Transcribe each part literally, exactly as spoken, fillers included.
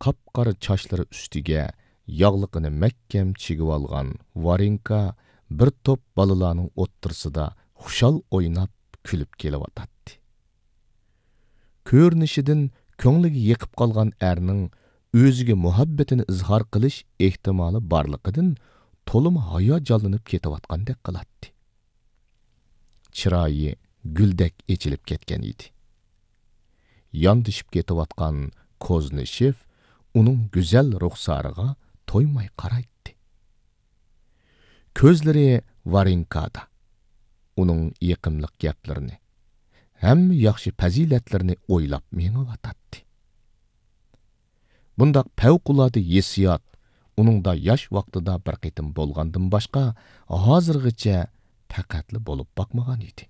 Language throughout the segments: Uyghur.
قاپقارا چاچلىرى ئۈستىگە ياغلىقىنى مەھكەم چىگىۋالغان ۋارېنكا بىر توپ بالىلارنىڭ ئوتتۇرىسىدا خۇشال ئويناپ، كۈلۈپ كېلىۋاتاتتى. كۆرۈنۈشىدىن كۆڭلىگە يېقىپ قالغان ئەرنىڭ ئۆزىگە مۇھەببىتىنى ئىزھار قىلىش ئېھتىمالى بارلىقىدىن تولىمۇ ھاياجانلىنىپ كېتىۋاتقاندەك قىلاتتى. چىرايى گۈلدەك ئېچىلىپ كەتكەن ئىدى. ياندىشىپ كېتىۋاتقان كوزنىشېف ئۇنىڭ گۈزەل رۇخسارىغا تويماي قارايتتى. كۆزلىرى ۋارېنكادا. ئۇنىڭ يېقىملىق گەپلىرىنى، ھەممە ياخشى پەزىلەتلىرىنى ئويلاپ مېڭىۋاتاتتى. بۇنداق پەۋقۇلئاددە ھېسسىيات ئۇنىڭدا ياش ۋاقتىدا بىر قېتىم بولغاندىن باشقا، ھازىرغىچە پەقەتلا بولۇپ باقمىغان ئىدى.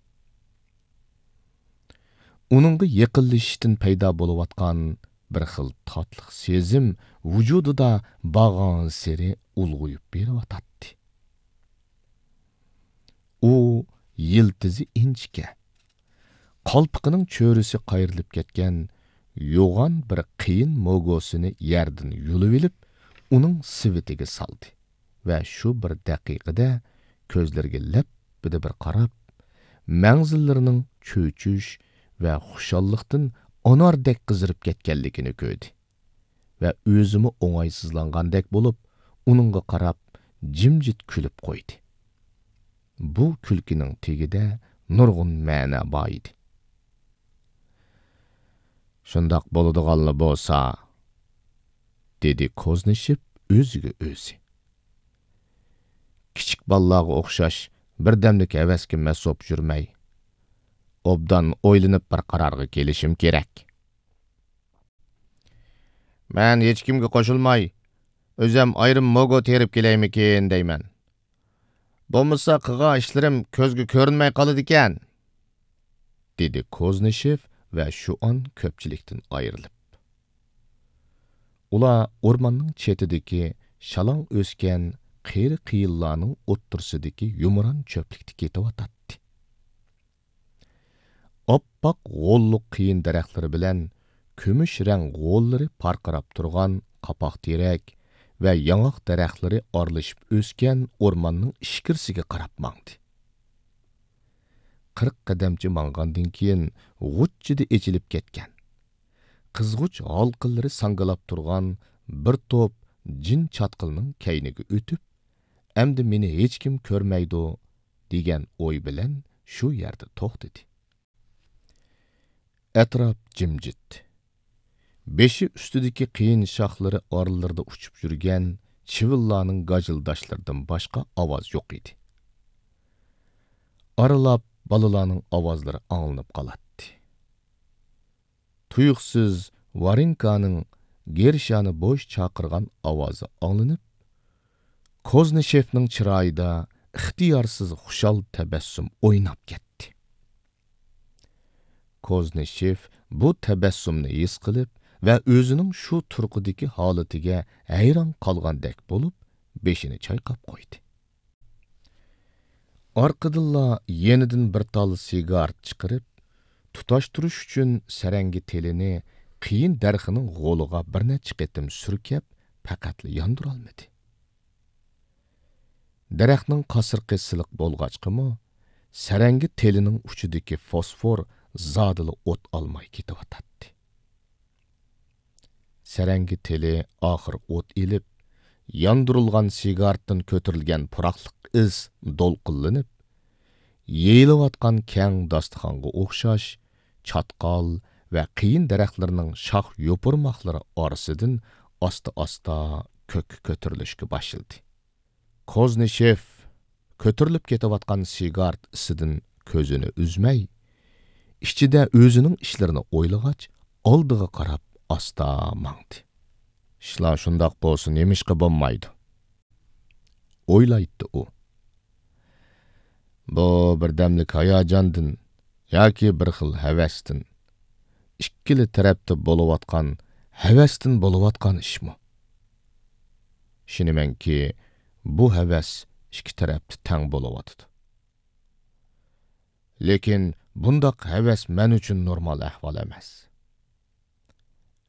ئۇنىڭغا يېقىنلىشىشتىن پەيدا بولۇۋاتقان بىر خىل تاتلىق سېزىم ۋۇجۇدىدا بارغانسېرى ئۇلغىيىپ بېرىۋاتاتتى. ئۇ يىلتىزى ئىنچىكە، قالپىقىنىڭ چۆرىسى قايرىلىپ كەتكەن يوغان بىر قېيىن موگوسىنى يەردىن يۇلۇۋېلىپ، ئۇنىڭ سېۋىتىگە سالدى ۋە شۇ بىر دەقىقىدە كۆزلىرىگە لەپپىدە بىر قاراپ، مەڭزىلىرىنىڭ چۆچۈش ۋە خۇشاللىقتىن ئاناردەك قىزىرىپ كەتكەنلىكىنى كۆردى. ۋە ئۆزىمۇ ئوڭايسىزلانغاندەك بولۇپ، ئۇنىڭغا قاراپ جىمجىت كۈلۈپ قويدى. بۇ كۈلكىنىڭ تېگىدە نۇرغۇن مەنە بار ئىدى. «شۇنداق بولىدىغانلا بولسا»، دېدى كوزنىشېف ئۆزىگە ئۆزى. «كىچىك بالىلارغا ئوخشاش بىردەملىك ھەۋەسكە مەست بولۇپ يۈرمەي، ئوبدان ئويلىنىپ بىر قارارغا كېلىشىم كېرەك. مەن ھېچكىمگە قوشۇلماي، ئۆزەم ئايرىم موگو تېرىپ كېلەيمىكىن دەيمەن. بولمىسا قىلغان ئىشلىرىم كۆزگە كۆرۈنمەي قالىدىكەن»، دېدى كوزنىشېف ۋە شۇئان كۆپچىلىكتىن ئايرىلىپ. ئۇلار ئورماننىڭ چېتىدىكى شالاڭ ئۆسكەن قېرى قېيىنلارنىڭ ئوتتۇرىسىدىكى يۇمران چۆپلۈكتە كېتىۋاتاتتى. ئاپئاق غوللۇق قېيىن دەرەخلىرى بىلەن كۈمۈش رەڭ غوللىرى پارقىراپ تۇرغان قاپاق تېرەك ۋە ياڭاق دەرەخلىرى ئارىلىشىپ ئۆسكەن ئورماننىڭ ئىچكىرىسىگە قاراپ ماڭدى. قىرىق قەدەمچە ماڭغاندىن كېيىن، غۇچچىدە ئېچىلىپ كەتكەن، قىزغۇچ ھالقىلىرى ساڭگىلاپ تۇرغان بىر توپ جىن چاتقىلىنىڭ كەينىگە ئۆتۈپ، «ئەمدى مېنى ھېچكىم كۆرمەيدۇ» دېگەن ئوي بىلەن شۇ يەردە توختىدى. ئەتراپ جىمجىت. بېشى ئۈستىدىكى قېيىن شاخلىرى ئارىلىرىدا ئۇچۇپ يۈرگەن چىۋىنلارنىڭ گاجىلداشلىرىدىن باشقا ئاۋاز يوق ئىدى. ئارىلاپ بالىلارنىڭ ئاۋازلىرى ئاڭلىنىپ قالاتتى. تۇيۇقسىز ۋارېنكانىڭ گېرشانى بوش چاقىرغان ئاۋازى ئاڭلىنىپ، كوزنىشېفنىڭ چىرايىدا ئىختىيارسىز خۇشال تەبەسسۇم ئويناپ كەتتى. كوزنىشېف بۇ تەبەسسۇمنى ھېس قىلىپ ۋە ئۆزىنىڭ شۇ تۇرقىدىكى ھالىتىگە ھەيران قالغاندەك بولۇپ، بېشىنى چايقاپ قويدى. ئارقىدىنلا يېنىدىن بىر تال سىگارېت چىقىرىپ، تۇتاشتۇرۇش ئۈچۈن سەرەڭگە تېلىنى قېيىن دەرىخىنىڭ غولىغا بىر نەچچە قېتىم سۈركەپ، پەقەتلا ياندۇرالمىدى. دەرەخنىڭ قاسرىقى سىلىق بولغاچقىمۇ، سەرەڭگە تېلىنىڭ ئۇچىدىكى فوسفور زادىلا ئوت ئالماي كېتىۋاتاتتى. سەرەڭگە تېلى ئاخىر ئوت ئېلىپ، ياندۇرۇلغان سىگارېتتىن كۆتۈرۈلگەن پۇراقلىق ئىس دولقۇنلىنىپ، يېيىلىۋاتقان كەڭ داستىخانغا ئوخشاش چاتقال ۋە قېيىن دەرەخلىرىنىڭ شاخ يوپۇرماقلىرى ئارىسىدىن ئاستا-ئاستا كۆككە كۆتۈرۈلۈشكە باشلىدى. كوزنىشېف كۆتۈرۈلۈپ كېتىۋاتقان سىگارېت ئىسىدىن كۆزىنى ئۈزمەي، ئىچىدە ئۆزىنىڭ ئىشلىرىنى ئويلىغاچ، ئالدىغا قاراپ ئاستا ماڭدى. «ئىشلار شۇنداق بولسا نېمىشقا بولمايدۇ؟» ئويلايتتى ئۇ. بۇ بىردەملىك ھاياجاندىن ياكى بىر خىل ھەۋەستىن، ئىككىلا تەرەپتە بولۇۋاتقان ھەۋەستىن بولۇۋاتقان ئىشمۇ؟ ئىشىنىمەنكى، بۇ ھەۋەس ئىككى تەرەپتە تەڭ بولۇۋاتىدۇ. لېكىن بۇنداق ھەۋەس مەن ئۈچۈن نورمال ئەھۋال ئەمەس.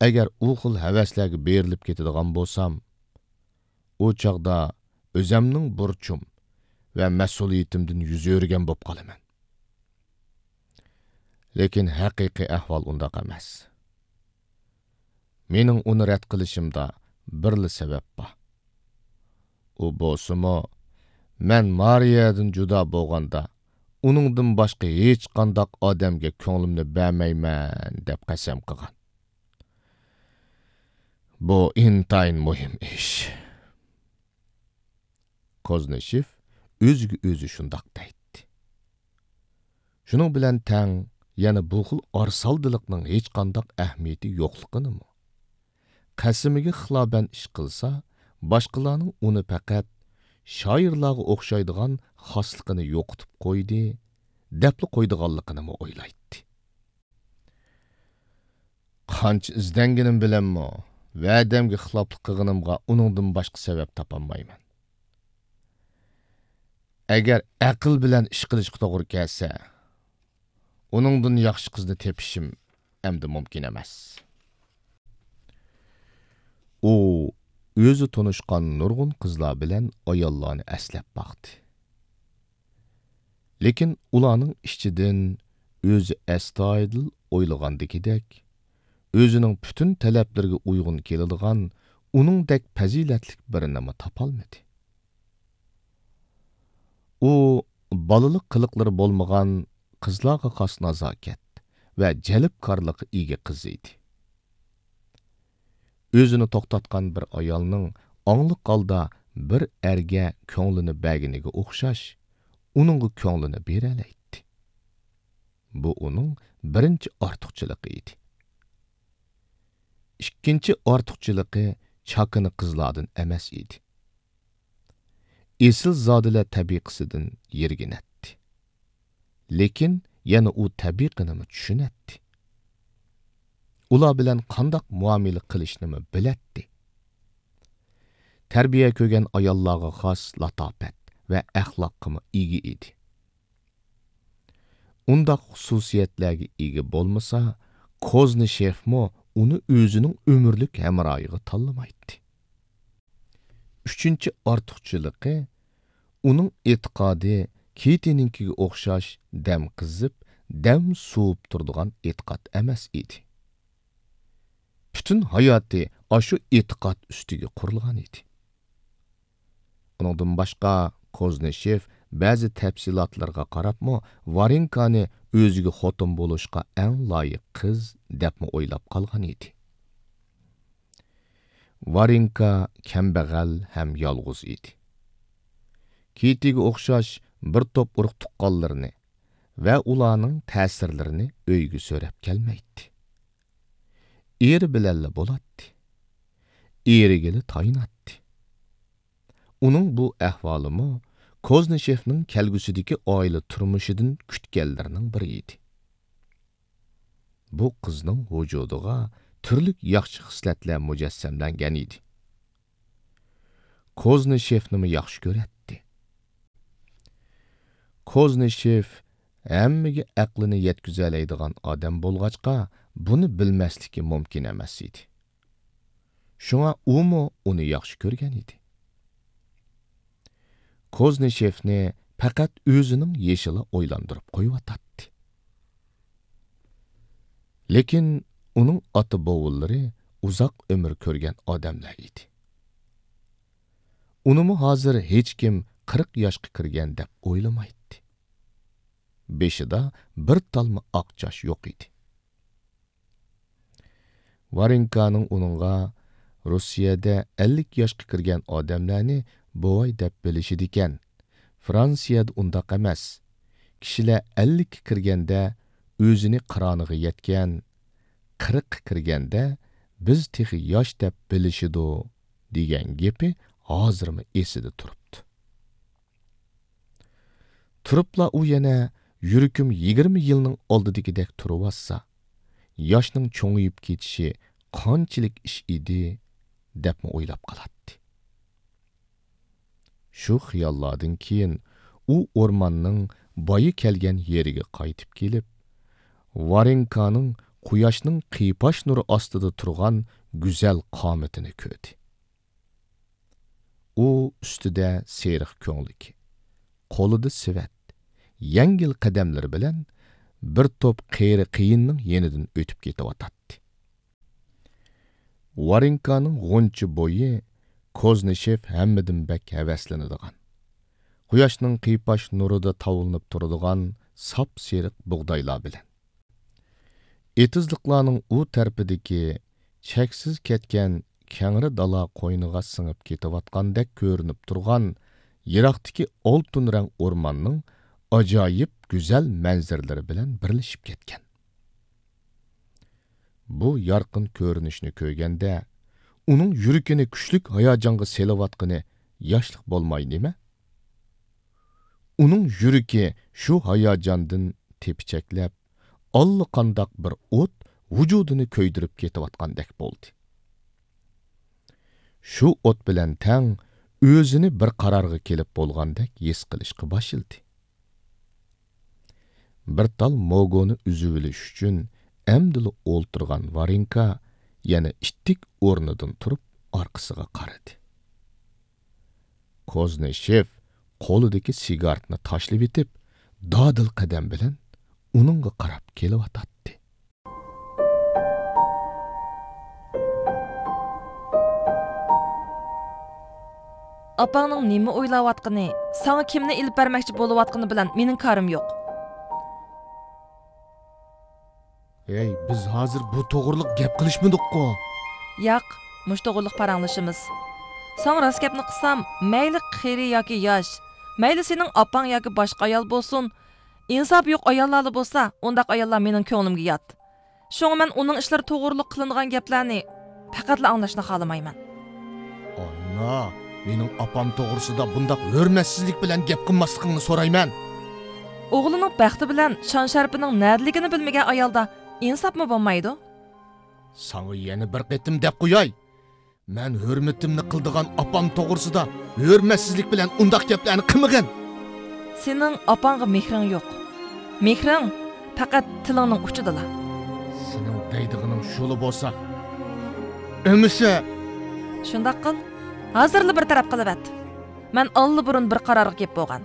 ئەگەر ئۇ خىل ھەۋەسلەرگە بېرىلىپ كېتىدىغان بولسام، ئۇ چاغدا ئۆزەمنىڭ بۇرچۇم ۋە مەسئۇلىيىتىمدىن يۈز ئۆرۈگەن بولۇپ قالىمەن. لېكىن ھەقىقىي ئەھۋال ئۇنداق ئەمەس. مېنىڭ ئۇنى رەت قىلىشىمدا بىرلا سەۋەب بار. ئۇ بولسىمۇ، مەن مارىيەدىن جۇدا بولغاندا، ئۇنىڭدىن باشقا ھېچقانداق ئادەمگە كۆڭلۈمنى بەرمەيمەن، دەپ قەسەم قىلغان. بۇ ئىنتايىن مۇھىم ئىش. كوزنىشېف ئۆزىگە ئۆزى شۇنداق دەيتتى. شۇنىڭ بىلەن تەڭ، يەنە بۇ خىل ئارىسالدىلىقنىڭ ھېچقانداق ئەھمىيىتى يوقلۇقىنىمۇ، قەسىمىگە خىلاپەن ئىش قىلسا، باشقىلارنىڭ ئۇنى پەقەت شائىرلارغا ئوخشايدىغان خاسلىقىنى يوقىتىپ قويدى، دەپلا قويىدىغانلىقىنىمۇ ئويلايتتى. قانچە ئىزدەنگىنىم بىلەنمۇ، ۋەدەمگە خىلاپلىق قىلغىنىمغا ئۇنىڭدىن باشقا سەۋەب تاپالمايمەن. ئەگەر ئەقىل بىلەن ئىش قىلىشقا توغرا كەلسە، ئۇنىڭدىن ياخشى قىزنى تېپىشىم ئەمدى مۇمكىن ئەمەس. ئۇ ئۆزى تونۇشقان نۇرغۇن قىزلار بىلەن ئاياللارنى ئەسلەپ باقتى. لېكىن ئۇلارنىڭ ئىچىدىن ئۆزى ئەستايىدىل ئويلىغاندىكىدەك، ئۆزىنىڭ پۈتۈن تەلەپلىرىگە ئۇيغۇن كېلىدىغان ئۇنىڭدەك پەزىلەتلىك بىرىنىمۇ تاپالمىدى. ئۇ بالىلىق قىلىقلىرى بولمىغان، قىزلارغا خاس نازاكەت ۋە جەلپكارلىققا ئىگە قىز ئىدى. ئۆزىنى توختاتقان بىر ئايالنىڭ ئاڭلىق ھالدا بىر ئەرگە كۆڭلىنى بەرگىنىگە ئوخشاش، ئۇنىڭغا كۆڭلىنى بېرەلەيتتى. بۇ ئۇنىڭ بىرىنچى ئارتۇقچىلىقى ئىدى. ئىككىنچى ئارتۇقچىلىقى چاكىنا قىزلاردىن ئەمەس ئىدى. ئېسىلزادىلەر تەبىقىسىدىن يىرگىنەتتى. لېكىن يەنە ئۇ تەبىقىنىمۇ چۈشىنەتتى. ئۇلار بىلەن قانداق مۇئامىلە قىلىشنىمۇ بىلەتتى. تەربىيە كۆرگەن ئاياللارغا خاس لاتاپەت ۋە ئەخلاققىمۇ ئىگە ئىدى. ئۇنداق خۇسۇسىيەتلەرگە ئىگە بولمىسا، كوزنىشېفمۇ ئۇنى ئۆزىنىڭ ئۆمۈرلۈك ھەمراھىغا تاللىمايتتى. ئۈچىنچى ئارتۇقچىلىقى، ئۇنىڭ ئېتىقادى كىتىنىڭكىگە ئوخشاش دەم قىزىپ، دەم سوۋۇپ تۇرىدىغان ئېتىقاد ئەمەس ئىدى. پۈتۈن ھاياتى ئاشۇ ئېتىقاد ئۈستىگە قۇرۇلغان ئىدى. ئۇنىڭدىن باشقا، كوزنىشېف بەزى تەپسىلاتلىرىغا قاراپمۇ، ۋارېنكانى ئۆزىگە خوتۇن بولۇشقا ئەڭ لايىق قىز دەپمۇ ئويلاپ قالغان ئىدى. ۋارېنكا كەمبەغەل ھەم يالغۇز ئىدى. كىتىگە ئوخشاش بىر توپ ئۇرۇق-تۇغقانلىرىنى ۋە ئۇلارنىڭ تەسىرلىرىنى ئۆيىگە سۆرەپ كەلمەيتتى. ئېرى بىلەنلا بولاتتى. ئېرىگىلا تايىناتتى. ئۇنىڭ بۇ ئەھۋالىمۇ كوزنىشېفنىڭ كەلگۈسىدىكى ئائىلە تۇرمۇشىدىن كۈتكەنلىرىنىڭ بىرى ئىدى. بۇ قىزنىڭ ۋۇجۇدىغا تۈرلۈك ياخشى خىسلەتلەر مۇجەسسەملەنگەن ئىدى. كوزنىشېفنىمۇ ياخشى كۆرەتتى. كوزنىشېف ھەممىگە ئەقلىنى يەتكۈزەلەيدىغان ئادەم بولغاچقا، بۇنى بىلمەسلىكى مۇمكىن ئەمەس ئىدى. شۇڭا ئۇمۇ ئۇنى ياخشى كۆرگەن ئىدى. كوزنىشېفنى پەقەت ئۆزىنىڭ يېشىلا ئويلاندۇرۇپ قويۇۋاتاتتى. لېكىن ئۇنىڭ ئاتا-بوۋىلىرى ئۇزاق ئۆمۈر كۆرگەن ئادەملەر ئىدى. ئۇنىمۇ ھازىر ھېچكىم قىرىق ياشقا كىرگەن دەپ ئويلىمايتتى. بېشىدا بىر تالما ئاق چاچ يوق ئىدى. ۋارېنكانىڭ ئۇنىڭغا روسىيەدە ئەللىك ياشقا كىرگەن ئادەملەرنى بوۋاي دەپ بىلىشىدىكەن، فرانسىيەدە ئۇنداق ئەمەس. كىشىلەر ئەللىككە كىرگەندە ئۆزىنى قىرانىغا يەتكەن، قىرىققا كىرگەندە بىز تېخى ياش دەپ بىلىشىدۇ، دېگەن گېپى ھازىرمۇ ئېسىدە تۇرۇپتۇ. تۇرۇپلا ئۇ يەنە، يۈرىكىم يىگىرمە يىلنىڭ ئالدىدىكىدەك تۇرۇۋاتسا، ياشنىڭ چوڭىيىپ كېتىشى قانچىلىك ئىش ئىدى، دەپمۇ ئويلاپ قالاتتى. شۇ خىياللاردىن كېيىن ئۇ ئورماننىڭ بايا كەلگەن يېرىگە قايتىپ كېلىپ، ۋارېنكانىڭ قۇياشنىڭ قىيپاش نۇرى ئاستىدا تۇرغان گۈزەل قامىتىنى كۆردى. ئۇ ئۈستىدە سېرىق كۆڭلىكى، قولىدا سېۋەت، يەڭگىل قەدەملىرى بىلەن بىر توپ قېرى قېيىننىڭ يېنىدىن ئۆتۈپ كېتىۋاتاتتى. ۋارېنكانىڭ غۇنچە بويى كوزنىشېف ھەممىدىن بەك ھەۋەسلىنىدىغان، قۇياشنىڭ قىيپاش نۇرىدا تاۋلىنىپ تۇرىدىغان ساپسېرىق بۇغدايلار بىلەن، ئېتىزلىقلارنىڭ ئۇ تەرىپىدىكى چەكسىز كەتكەن كەڭرى دالا قوينىغا سىڭىپ كېتىۋاتقاندەك كۆرۈنۈپ تۇرغان يىراقتىكى ئالتۇن رەڭ ئورماننىڭ ئاجايىپ گۈزەل مەنزىرىلىرى بىلەن بىرلىشىپ كەتكەن. بۇ يارقىن كۆرۈنۈشنى كۆرگەندە، ئۇنىڭ يۈرىكىنى كۈچلۈك ھاياجانغا سېلىۋاتقىنى ياشلىق بولماي نېمە؟ ئۇنىڭ يۈرىكى شۇ ھاياجاندىن تېپىچەكلەپ، ئاللىقانداق بىر ئوت ۋۇجۇدىنى كۆيدۈرۈپ كېتىۋاتقاندەك بولدى. شۇ ئوت بىلەن تەڭ ئۆزىنى بىر قارارغا كېلىپ بولغاندەك ھېس قىلىشقا باشلىدى. بىر تال موگونى ئۈزۈۋېلىش ئۈچۈن ئەمدىلا ئولتۇرغان ۋارېنكا يەنە ئىتتىك ئورنىدىن تۇرۇپ ئارقىسىغا قارىدى. كوزنىشېف قولىدىكى سىگارتنى تاشلىۋېتىپ، دادىل قەدەم بىلەن ئۇنىڭغا قاراپ كېلىۋاتاتتى. ئاپاڭنىڭ نېمە ئويلاۋاتقىنى، ساڭا كىمنى ئېلىپ بەرمەكچى بولۇۋاتقىنى بىلەن مېنىڭ كارىم يوق. ھەي، بىز ھازىر بۇ توغرىلىق گەپ قىلىشمىدۇققۇ؟ ياق، مۇشۇ توغرىلىق پاراڭلىشىمىز. ساڭا راست گەپنى قىلسام، مەيلى قېرى ياكى ياش، مەيلى سېنىڭ ئاپاڭ ياكى باشقا ئايال بولسۇن، ئىنساپى يوق ئاياللارلا بولسا، ئۇنداق ئاياللار مېنىڭ كۆڭلۈمگە يات. شۇڭا مەن ئۇنىڭ ئىشلىرى توغرىلىق قىلىنغان گەپلەرنى پەقەتلا ئاڭلاشنى خالىمايمەن. ئانا، مېنىڭ ئاپام توغرىسىدا بۇنداق ھۆرمەتسىزلىك بىلەن گەپ قىلماسلىقىڭنى سورايمەن. ئوغلىنىڭ بەختى بىلەن شان-شەرىپىنىڭ نەدىلىكىنى بىلمىگەن ئايالدا ئىنساپمۇ بولمايدۇ. ساڭا يەنە بىر قېتىم دەپ قوياي. مەن ھۆرمىتىمنى قىلىدىغان ئاپام توغرىسىدا ھۆرمەتسىزلىك بىلەن ئۇنداق گەپلەرنى قىلمىغىن. سېنىڭ ئاپاڭغا مېھرىڭ يوق. مېھرىڭ پەقەت تىلىڭنىڭ ئۇچىدىلا. سېنىڭ دەيدىغىنىڭ شۇلا بولسا، ئەمىسە. شۇنداق قىل. ھازىرلا بىر تەرەپ قىلىۋەت. مەن ئاللىبۇرۇن بىر قارارغا كېلىپ بولغان.